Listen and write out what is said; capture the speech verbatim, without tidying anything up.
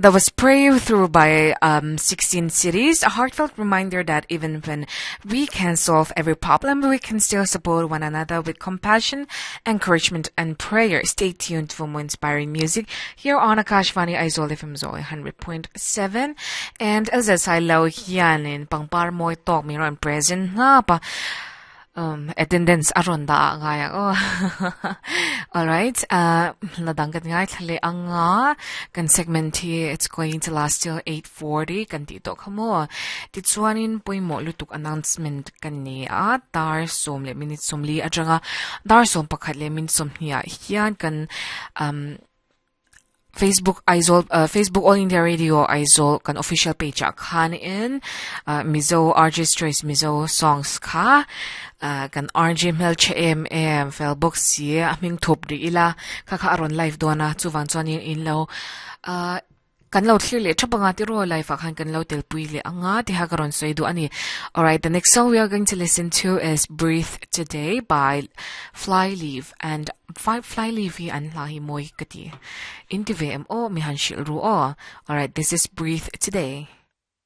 That was prayed through by um, sixteen cities. A heartfelt reminder that even when we can solve every problem, we can still support one another with compassion, encouragement, and prayer. Stay tuned for more inspiring music here on Akashvani Aizawl F M Zoi one hundred point seven. And as I lo hianin pangpar moi tok mi ron present na pa um, attendance aron da ngaya oh. All right, uh ladang kan ngai thlale anga kan segment hi, it's going to last till eight forty kan ti to khamo. Ti chuanin poimo lutuk announcement kan ni a dar som le minute som li atanga dar som pakhat le min som hnia hian kan um Facebook Aizawl, uh, Facebook All India Radio Aizawl kan official page a khan in uh, Mizo R J's Choice Mizo Songs kha uh, kan R J mel che em em fel box si a ming thop ri ila kha kha aron live dona chuwan chuan in in lo uh, kan lo thlir le thapanga ti ro live a khan kan lo tel pui le anga ti ha karon soi du ani. Alright, the next song we are going to listen to is "Breathe Today" by Flyleaf, and Fly Flyleaf hi an hla hi moi kati in ti ve em o mi han shil ru o. Alright, this is "Breathe Today."